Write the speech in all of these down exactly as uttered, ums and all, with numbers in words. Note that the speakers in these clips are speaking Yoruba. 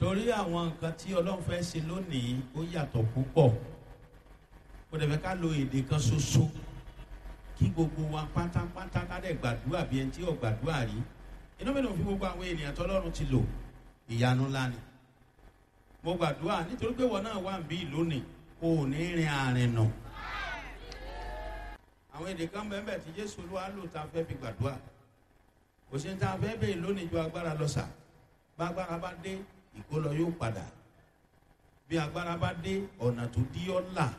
Torí àwọn nǹkan tí Ọlọ́run fẹ́ ṣe lónìí, ó yàtọ̀ púpọ̀. Kò dẹ̀ fẹ́ ká lo èdè kan ṣoṣo kí gbogbo wa pátápátá ká dẹ̀ gbàdúrà bí ẹni tí ò gbàdúrà rí. Inú mi ló fi gbogbo àwọn ènìyàn tọ́lọ́run ti lò. Ìyanu ńlá ni. Mo gbàdúrà nítorí pé wọn náà wà ń bí lónìí, kò ní rin àrìn nà. Àwọn èdè kan bẹ́ẹ̀ tí Jésù Olúwa lò tá a fẹ́ fi gbàdúrà. Kò sí ní tá a fẹ́ bèè lónìí ju agbára lọ sà. Bá agbára bá dé, ìkólọ yóò padà. Bí agbára bá dé, ọ̀nà tó dí ọ́ là.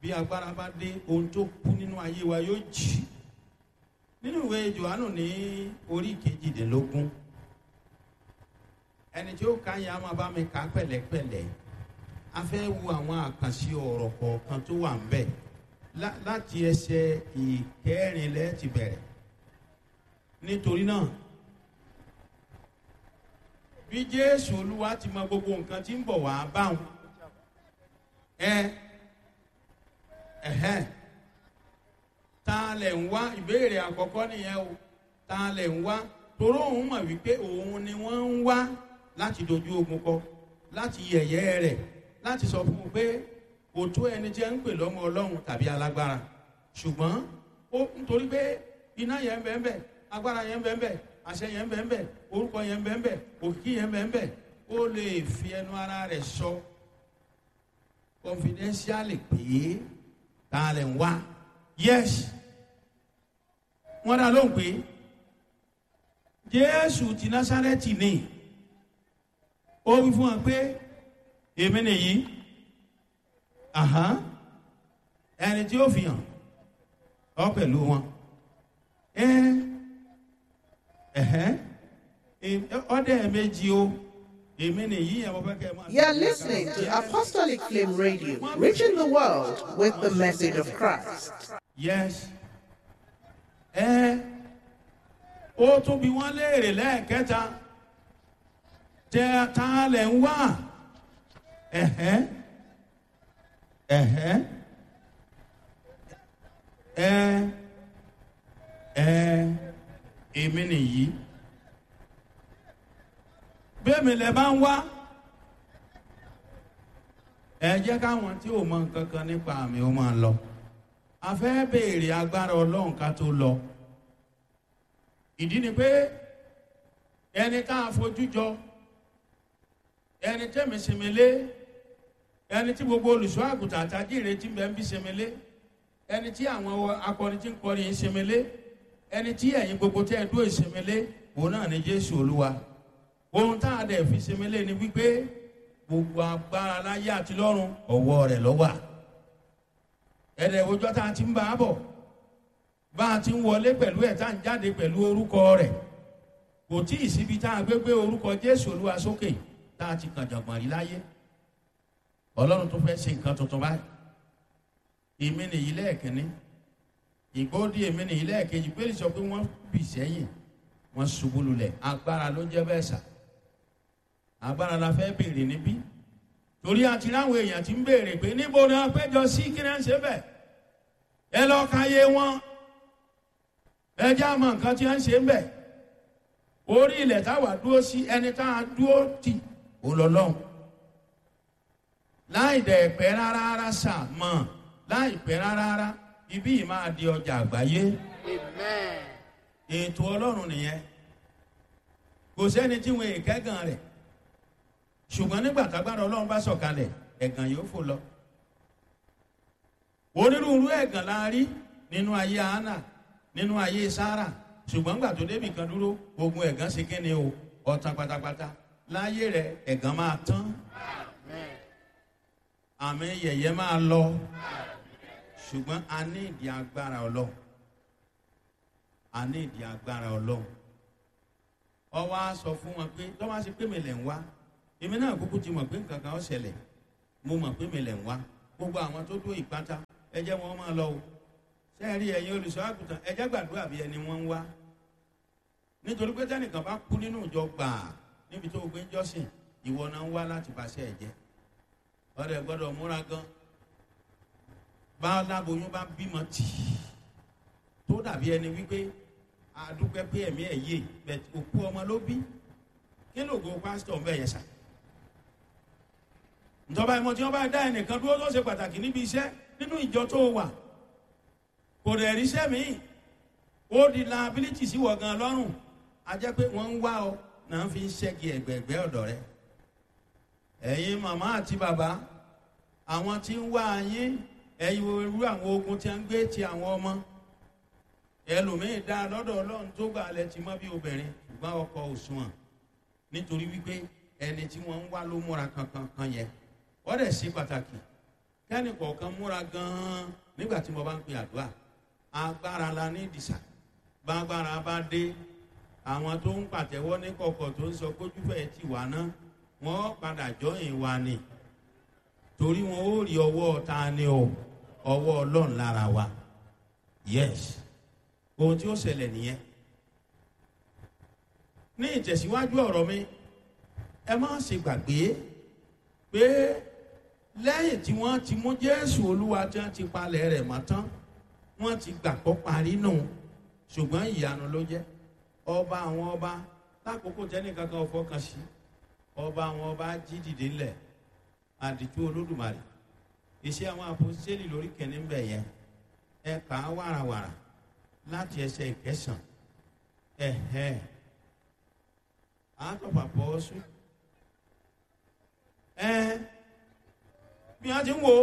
Bí agbára bá dé, ohun tó kú nínú ayé wa yóò jì. Nínú ìwé Jòhánù ní orí kejìdínlógún, ẹni tí ó ka yẹn a máa bá mi kà pẹ̀lẹ́pẹ̀lẹ́. A fẹ́ wo àwọn àkànṣe ọ̀rọ̀ kọ̀ọ̀kan tó wà ń bẹ̀ láti ẹsẹ̀ ìkẹrin lẹ́ẹ̀ ti bẹ̀rẹ̀. Nítorí náà, bí Jésù Olúwa ti mọ gbogbo nǹkan tí ń bọ̀ wá báwọn, ẹ ẹhẹn, ta lẹ̀ ń wá? Ìbéèrè àkọ́kọ́ nìyẹn o. Ta lẹ̀ ń wá? Toró òun mọ̀ wípé òun ni wọ́n ń wá láti dojú ogun kọ, láti yẹ̀yẹ́ rẹ̀, láti sọ fún un pé kò tó ẹni tí ẹ ń pè lọ́mọ Ọlọ́run tàbí alágbára. Ṣùgbọ́n ó nítorí pé iná yẹn bẹ́ẹ̀ bẹ́ẹ̀, agbára yẹn bẹ́ẹ̀ bẹ́ẹ̀, àṣẹ yẹn bẹ́ẹ̀ bẹ́ẹ̀, orúkọ yẹn bẹ́ẹ̀ bẹ́ẹ̀, òkìkí yẹn bẹ́ẹ̀ bẹ́ẹ̀, ó lè fi ẹnu ara rẹ̀ sọ confidentially pé ta lẹ̀ ń wá. Yes, wọ́n dá lóhùn pé Jésù ti Násárẹ́tì ni. Ó wí fún wọn pé èmi nìyí, ẹni tí ó fi hàn ọ pẹ̀lú wọn. Ọdẹ méjì o, èmi nìyí ẹ̀ mo fẹ́ kẹ́ ẹ máa. You are listening to Apostolic Flame Radio, reaching the world with the message of Christ. Yes. Ẹ ó tún bí wọ́n léèrè lẹ́ẹ̀kẹta, tẹ ta lẹ̀ ń wá? Ẹ̀hẹ́n, ẹ̀hẹ́n, ẹ ẹ èmi nìyí. Bẹ́ẹ̀mi lẹ bá ń wá, ẹ jẹ́ káwọn tí ò mọ nǹkan kan nípa àmì ó máa lọ. A fẹ́ béèrè agbára Ọlọ́run ká tó lọ. Ìdí ni pé ẹni tá a fojú jọ, ẹni tẹ́mi sinmi lé, ẹni tí gbogbo olùṣọ́ àgùntàn àtàjìrè tí ń bẹ ń bí sinmi lé, ẹni tí àwọn akọrin tí ń kọrin yìí sinmi lé, ẹni tí ẹ̀yin gbogbo tẹ́ ẹ dúró ìsinmi lé, òun náà ni Jésù Olúwa. Ohun tá a dẹ̀ fi sinmi lé ni wípé gbogbo agbára láyé àti lọ́run, ọ̀wọ́ rẹ̀ ló wà. Ẹ̀rẹ̀ òjò tá a ti ń bá a bọ̀, bá a ti ń wọlé pẹ̀lú ẹ̀, tá a ń jáde pẹ̀lú orúkọ rẹ̀. Kò tí ì síbi tá a gbé gbé orúkọ Jésù Olúwa sókè tá a ti kàn jọ̀gbọ̀n rí láyé. Ọlọ́run tó fẹ́ ṣe nǹkan tuntun báyìí. Èmi nìyí lẹ́ẹ̀kínní, ìgbóòdì èmi nìyí lẹ́ẹ̀kejì. Pé sọ pé wọ́n bì sẹ́yìn, wọ́n ṣubú lulẹ̀. Agbára ló jẹ́ bẹ́ẹ̀ sà. Agbára la fẹ́ béèrè níbí, torí àti ráwọn èèyàn ti ń béèrè pé níbo ni wọ́n péjọ sí, kí ni wọ́n ṣe bẹ́ẹ̀. Ẹ lọ ka yé wọn, ẹ jẹ́ àmọ́ nǹkan tí wọ́n ṣe ń bẹ̀. Orí ilẹ̀ táwa dúró sí, ẹni tá a dúró tì ó lọ lọ́hùn. Láì dẹ̀ pẹ́ rárá rárá sà mọ̀, láì pẹ́ rárá rárá, ibí yìí máa di ọjà àgbáyé. Ètò Ọlọ́run nìyẹn. Kò sẹ́ni tí wọn èkẹ́gàn rẹ̀, ṣùgbọ́n nígbà tágbára Ọlọ́run bá sọ̀kalẹ̀, ẹ̀gàn yóò fò lọ. Onírúurú ẹ̀gàn la rí nínú ayé Hánà, nínú ayé Sárà, ṣùgbọ́n gbà tó débì kan dúró, ogun ẹ̀gàn ṣe kíni o, ọ̀tàn pátápátá. Láyé rẹ̀, ẹ̀gàn máa tán, àmì yẹ̀yẹ́ máa lọ, ṣùgbọ́n a ní ìdí agbára Ọlọ́run. A ní ìdí agbára Ọlọ́run. Ọwọ́ á sọ fún wọn pé tọ́ bá ṣe pé mi lẹ̀ ń wá, èmi náà kúkú ti mọ̀ pé nǹkan kan ó ṣẹlẹ̀. Mo mọ̀ pé mi lẹ̀ ń wá. Gbogbo àwọn tó dó ìpátá, ẹ jẹ́ wọn máa lọ o. Sẹ́ẹ̀rí ẹ̀yin olùṣọ́ àgùntàn, ẹ jẹ́ gbàdúrà bí ẹni wọ́n ń wá, nítorí pé tẹ́nìkan bá kú nínú ìjọ gbàá níbi tó o gbé ń jọ́sìn, ìwọ náà ń wá láti bàṣẹ ẹ̀ jẹ́. Ọ̀rẹ́ gbọ́dọ̀ múra gan. Bá láboyún bá bímọ tì í tó dàbí ẹni wípé àdúpẹ́ pé ẹ̀mí ẹ̀ yé, bẹ̀t òkú ọmọ ló bí. Kí lóògùn pásítọ̀ ń bẹ̀ yẹn sà? Ìjọba ìmọ̀ tí wọ́n bá dá ẹnìkan dúró tó ṣe pàtàkì níbi iṣẹ́ nínú ìjọ tó wà, kò dẹ̀ ríṣẹ́ míì, ó di liability sí wọ̀ gan lọ́rùn. A jẹ́ pé wọ́n ń wá ọ náà fi ń ṣẹ́gi ẹ̀gbẹ̀ẹ̀gbẹ́ ọ̀dọ̀ rẹ. Ẹ̀yin màmá àti bàbá, àwọn tí ń wá yín, ẹ̀yin irú àwọn ogun tí a ń gbé ti àwọn ọmọ ẹlòmíín dá lọ́dọ̀ Ọlọ́run tó gbà lẹ ti mọ́ bí obìnrin, ṣùgbọ́n ọkọ òṣùwọ̀n, nítorí wípé ẹni tí wọ́n ń wá ló múra kankan kan yẹn. Wọ́n dẹ̀ ṣe pàtàkì kẹ́ni kọ̀ọ̀kan múra gan-an nígbà tí mo bá ń pe àdúrà. Agbára la ní ìdìsà. Bágbára bá dé, àwọn tó ń pàtẹ́wọ́ ní kọ̀kọ̀ tó ń sọ kójúfẹ́ ti wà ná, wọ́n padà jọyìn wa ni, torí wọn ó rí ọwọ́ ta ni o, ọwọ́ Ọlọ́run lára wa. Yes, ohun tí ó ṣẹlẹ̀ nìyẹn. Ní ìtẹ̀síwájú ọ̀rọ̀ mi, ẹ má ṣe gbàgbé pé lẹ́yìn tí wọ́n ti mú Jésù Olúwa tí wọ́n ti palẹ̀ rẹ̀ mọ́ tán, wọ́n ti gbàgbọ́ parí nù, ṣùgbọ́n ìyanu ló jẹ́. Ọba àwọn ọba, lákòókò tẹ́nìkan kan fọkàn sí, ọba àwọn ọba jí dìde ńlẹ̀, àdìtú Olódùmarè. Iṣẹ́ àwọn àpòsílẹ̀ lórí kẹ́ni ń bẹ̀ yẹn, ẹ kà á wàràwàrà láti ẹsẹ̀ ìkẹsàn. Ẹ̀hẹ́, àtọ̀pàpọ̀ ọ̀sùn ẹ bí wọ́n ti ń wo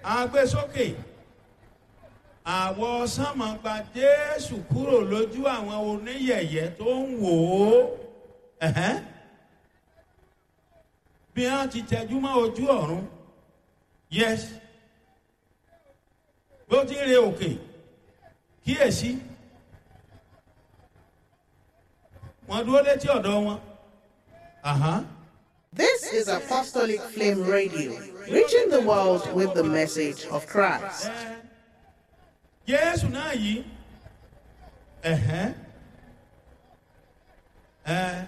agbésókè àwọ̀ sánmọ̀ gba Jésù kúrò lójú àwọn oníyẹ̀yẹ́ tó ń wò ó. Ẹ̀hẹ́n, bí wọ́n ti tẹjú mọ́ ojú ọ̀run. Yes, bí ó ti ń re òkè, kíyèsí, wọ́n dúró létí ọ̀dọ̀ wọn. Àhán. This is Apostolic Flame Radio, reaching the world with the message of Christ. Jésù náà yìí, ẹ̀hẹ́n, ẹ̀,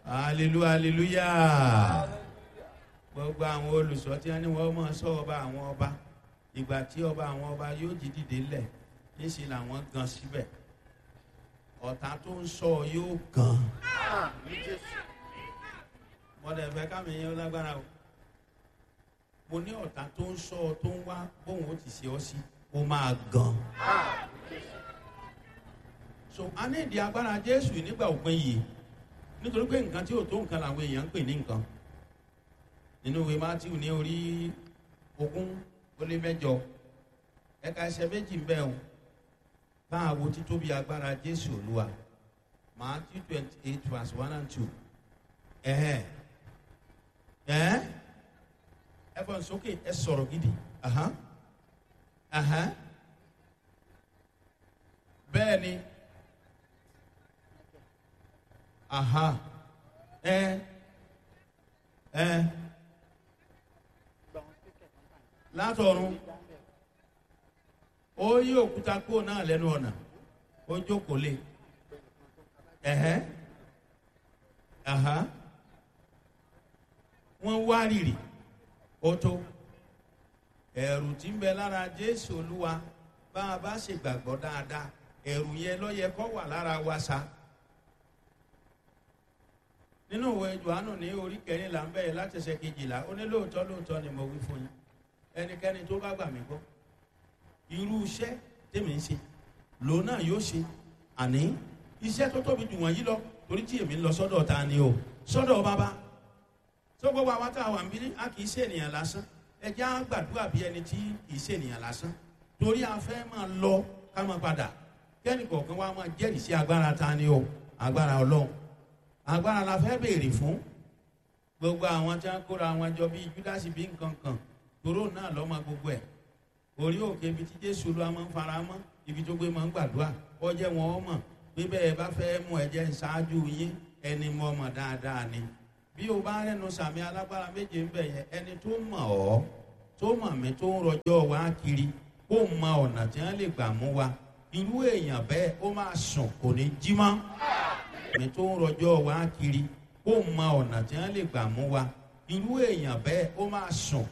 hallelujah, hallelujah. Gbogbo àwọn olùsọ tí wọ́n ní wọ́n máa sọ ọba àwọn ọba, ìgbà tí ọba àwọn ọba yóò jí dìde lẹ̀, níṣẹ́ làwọn gan síbẹ̀. Ọ̀tá tó ń sọ yóò gan. Wọ́n dẹ̀ fẹ́ kámi yẹn lágbára o. Mo ní ọ̀tá tó ń sọ tó ń wá bóun ó ti ṣe ọ́ sí, ó máa gan. So a ní ìdí agbára Jésù nígbà òpin yìí, nítorí pé nǹkan tí ò tó nǹkan làwọn èèyàn ń pè ní nǹkan. Nínú ìwé Mátíù ní orí ogún ó lé mẹ́jọ, ẹ̀ka ẹsẹ̀ méjì ń bẹ o. Bá a wo títóbi agbára Jésù Olúwa. Matthew twenty eight verse one and two. Ẹ̀hẹ́n, ẹ̀ ẹ fọ́n sókè, ẹ sọ̀rọ̀ gidi. Ahan, ahan, bẹ́ẹ̀ ni, aha, ẹ ẹ látọ̀run ó yí òkúta kúrò náà lẹ́nu ọ̀nà, ó jókòó lé. Ẹ̀hẹ́n, aha, wọ́n wá rìrì, ó tó ẹ̀rù tí ń bẹ lára Jésù Olúwa. Bá a bá ṣe gbàgbọ́ dáadáa, ẹ̀rù yẹn ló yẹ kó wà lára wa sa. Nínú ìwé Jòhánù ní orí kẹrìnlá ń bẹ̀rẹ̀ láti ẹsẹ̀ kejìlá, ó ní lóòótọ́ lóòótọ́ ni mo wí fún yín, ẹnikẹ́ni tó bá gbà mí gbọ́, irú iṣẹ́ tèmi ń ṣe lòun náà yóò ṣe, àní iṣẹ́ tó tóbi jù wọ̀nyí lọ, torí tí èmi ń lọ sọ́dọ̀ ta ni o, sọ́dọ̀ bàbá. Tó gbogbo àwọn tá a wà ń bí, a kì í ṣe ènìyàn lásán. Ẹ jẹ́ á gbàdúrà bí ẹni tí kì í ṣe ènìyàn lásán, torí a fẹ́ máa lọ ká máa padà, kẹ́ni kọ̀ọ̀kan wa máa jẹ́rìí sí agbára ta ni o, agbára Ọlọ́run. Agbára la fẹ́ béèrè fún. Gbogbo àwọn tí wọ́n kóra wọn jọ bíi Júdásì bí nǹkan kan, toró náà lọ́mọ gbogbo ẹ̀. Orí òkè ibi tí Jésù Olúwa máa ń fara mọ́, ibi tó gbé máa ń gbàdúrà, ọjẹ́ wọn ọmọ pé bẹ́ẹ̀ bá fẹ́ mú ẹ̀jẹ̀ ṣáájú yín, ẹni mọ̀ ọmọ dáadáa ni. Bí o bá rẹ́nu sàmì alágbára méje ń bẹ̀ yẹn, ẹni tó mọ̀ ọ́, tó mọ̀ mí, tó ń rọjọ́ wa kiri, kó mọ ọ̀nà tí wọ́n lè gbà mú wa, irú èèyàn bẹ́ẹ̀ ó máa sùn kò ní jí mọ́. Mi tó ń rọjọ́ wa kiri, kó mọ ọ̀nà tí wọ́n lè gbà mú wa, irú èèyàn bẹ́ẹ̀ ó máa sùn.